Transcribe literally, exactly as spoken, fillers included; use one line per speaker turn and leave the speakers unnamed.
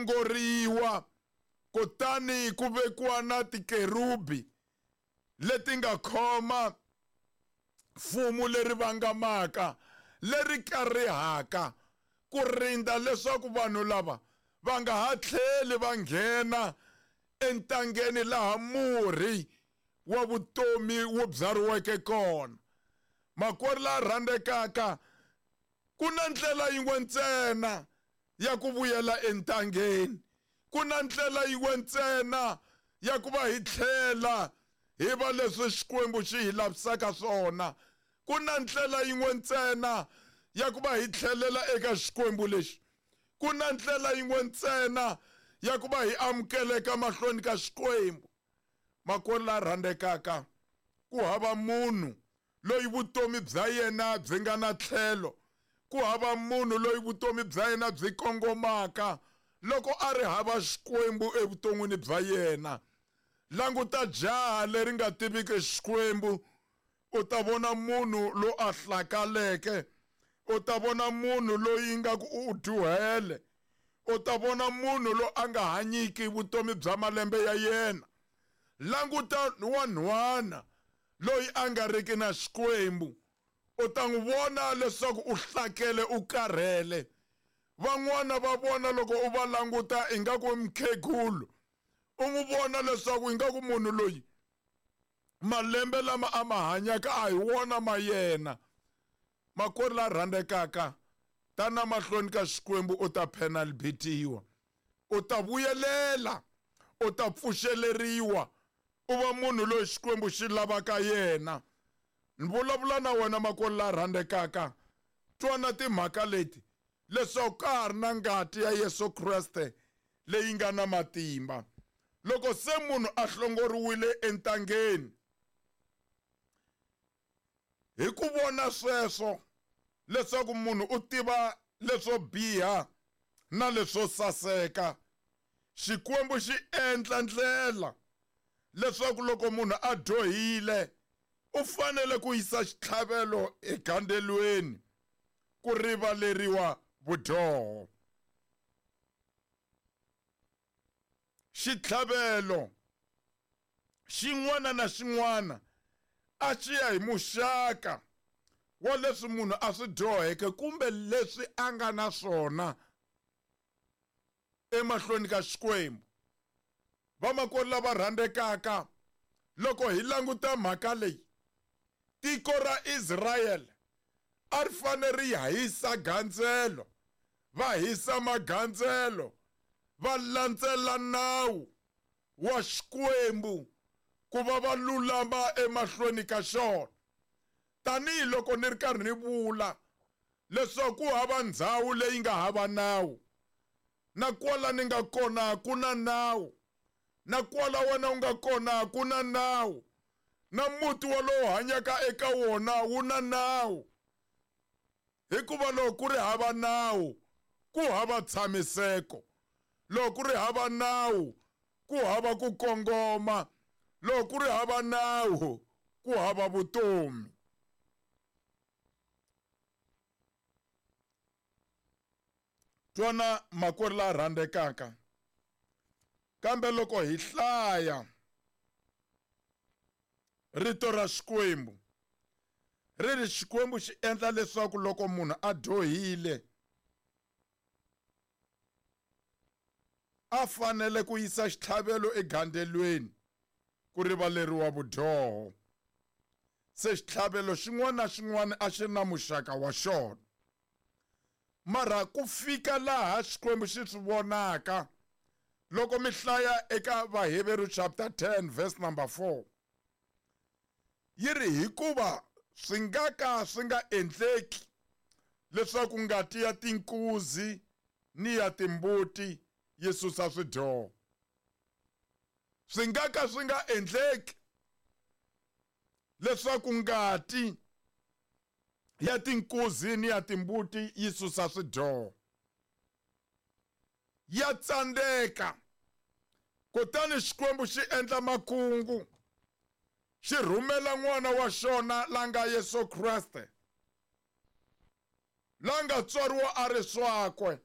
hlongoriwa kutani ku vekiwa na tikerubi leti nga khoma fumu leri vangamaka leri karihaka ku rinda leswaku vanhu lava va nga ha tlheli va nghena entangeni laha murhi wa vutomi wu byariweke kona. Makwerhu la rhandzekaka, ku na ndlela yin'we ntsena ya ku vuyela entangeni, ku na ndlela yin'we ntsena ya ku va hi tlhela hi va leswi Xikwembu xi hi lavisaka swona, ku na ndlela yin'we ntsena ya ku va hi tlhelela eka Xikwembu lexi, ku na ndlela yin'we ntsena ya ku va hi amukeleka mahlweni ka Xikwembu. Makwerhu la rhandzekaka, ku hava munhu loyi vutomi bya yena byi nga na tlhelo, ku hava munhu loyi vutomi bya yena byi kongomaka loko a ri hava Xikwembu evuton'wini bya yena. Languta jaha leri nga tiviki Xikwembu, u ta vona munhu lo a hlakaleke, u ta vona munhu loyi nga ku u dyuhele, u ta vona munhu lo a nga hanyiki vutomi bya malembe ya yena. Languta wanhwana loyi a nga riki na Xikwembu, u ta n'wi vona leswaku u hlakele, u karhele. Van'wana va vona loko u va languta ingaku i mukhegulu, u n'wi vona leswaku ingaku munhu loyi malembe lama a ma hanyaka a hi wona ma yena. Makwerhu la rhandzekaka, tana mahlweni ka Xikwembu u ta penalbitiwa, u ta vuyelela, u ta pfuxeleriwa, u va munhu loyi Xikwembu xi lavaka yena. Ni vulavula na wena makwerhu la rhandzekaka, twana timhaka leti leswaku ka ha ri na ngati ya Yesu Kreste leyi nga na matimba. Loko se munhu a hlongoriwile entangeni, hi ku vona sweswo leswaku munhu u tiva leswo biha na leswo saseka, Xikwembu xi endla ndlela leswaku loko munhu a dyohile u fanele ku yisa xitlhavelo egandzelweni ku rivaleriwa vudyoho. Xitlhavelo xin'wana na xin'wana a xi ya hi muxaka wa leswi munhu a swi dyoheke kumbe leswi a nga na swona emahlweni ka Xikwembu. Vamakwerhu lava rhandzekaka, loko hi languta mhaka leyi, tiko ra Israyele a ri fanele ri hisa gandzelo, va hisa magandzelo, va landzela nawu wa Xikwembu ku va va lulama emahlweni ka xona. Tanihi loko ni ri karhi ni vula leswaku ku hava ndhawu leyi nga hava nawu, na kwala ni nga kona ku na nawu, na kwala wena u nga kona ku na nawu, na muti wolowo hanyaka eka wona wu na nawu. Hikuva loko ku ri hava nawu, ku hava tshamiseko. Loko ku ri hava nawu, ku hava ku kongoma. Loko ku ri hava nawu, ku hava vutomi. Twana makwerhu la rhandzekaka, kambe loko hi hlaya rito ra Xikwembu, ri ri Xikwembu xi endla leswaku loko munhu a dyohile a fanele ku yisa xitlhavelo egandzelweni ku rivaleriwa vudyoho. Se xitlhavelo xin'wana na xin'wana a xi ri na muxaka wa xona. Mara ku fika laha Xikwembu xi swi vonaka, loko mi hlaya eka Vaheveru chapter ten verse number four, yi ri hikuva swi nga ka swi nga endleki leswaku ngati ya tinkuzi ni ya timbuti yi susa swidyoho. Swi nga ka swi nga endleki leswaku ngati ya tinkuzi ni ya timbuti yi susa swidyoho. Ya tsandzeka. Kutani Xikwembu xi endla makungu, xi rhumela n'wana wa xona la nga Yesu Kreste, la nga tswariwa a ri swakwe,